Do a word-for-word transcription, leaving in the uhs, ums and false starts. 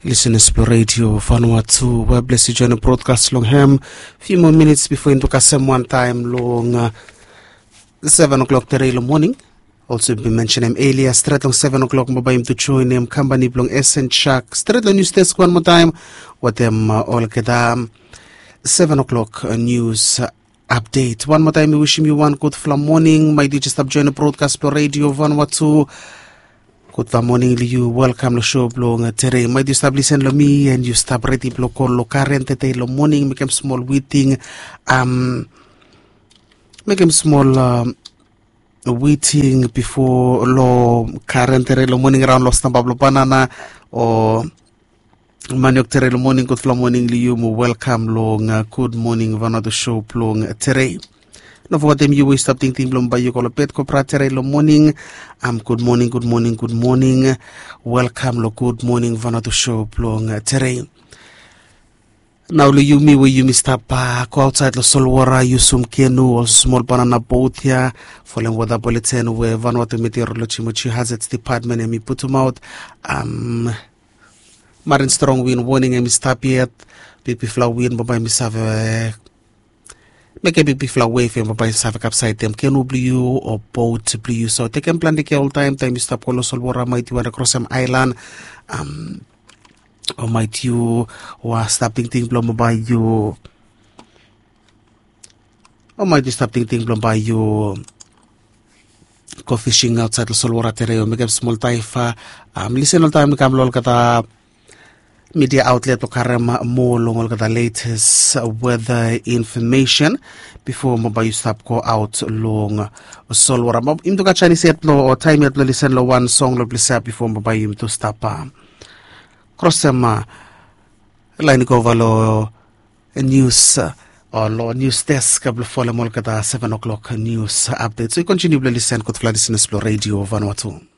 Lisenas blong redio Vanuatu, we blesi join brodkas long hem. Fiu moa minits bifo yumi tu kasem wantaem long seven o'clock tere long moning. Olsem yumi bin mensenem elia, stret long seven o'clock bambae yumi tu joinim kampani blong Esen Chak stret long nius desk wan moa taem wetem olgeta seven o'clock nius apdet. Wan moa taem mi wisim yu wan gudfala moning maet yu jes stap join brodkas blong redio Vanuatu. Gudfala moning long yu, welkam long sho blong tere. Maet yu stap lisen long mi and yu stap redi blong go long karen tede long moning, mekem smol witing. Am, mekem smol witing bifo long karen tere long moning raon long stamba blong banana o maniok tere long moning. Gudfala moning long yu mo welkam long gud moning Vanuatu sho blong tere. No fogetem yu we yu stap tingting blong bae yu go long bed kobra tere long moning. Am, gud moning, gud moning, gud moning. Welkam long gud moning Vanuatu sho blong tere. Nao long yumi we yumi stap go aotsaed long solwora, yusum kenu o smol banana bot ya folem weta buleten we Vanuatu Meteoroloji mo Geohazards Dipatmen hemi putumaot. Am, marin strong win woning hemi stap yet. Bigbigfala win bambae hemi save mekem bigbigfala wef ya bambae hemi save kapsaedem kenu blong yu o bot blong yu. So tekem plante kea oltaem taem yu stap go long solwora, maet yu wantem krosem aelan. Am, o maet yu wa stap tingting blong bae yu o maet yu stap tingting blong bae yu go fising aotsaed long solwora tere o mekem smol daefa. Am, lisen oltaem i kam long olgeta midia aotlet blong karem moa long olgeta letes weta infomesen bifo bambae yu stap go aot long solwora. Yumi tu gat janis yet blong o taem yet blong lisen long wan song long ples ya bifo bambae yumi tu stap krosem laen i go ova long nius o long nius desk blong folem olgeta seven o'clock nius apdet. So yu kontiniu blong lisen, gudfala lisenas blong redio Vanuatu.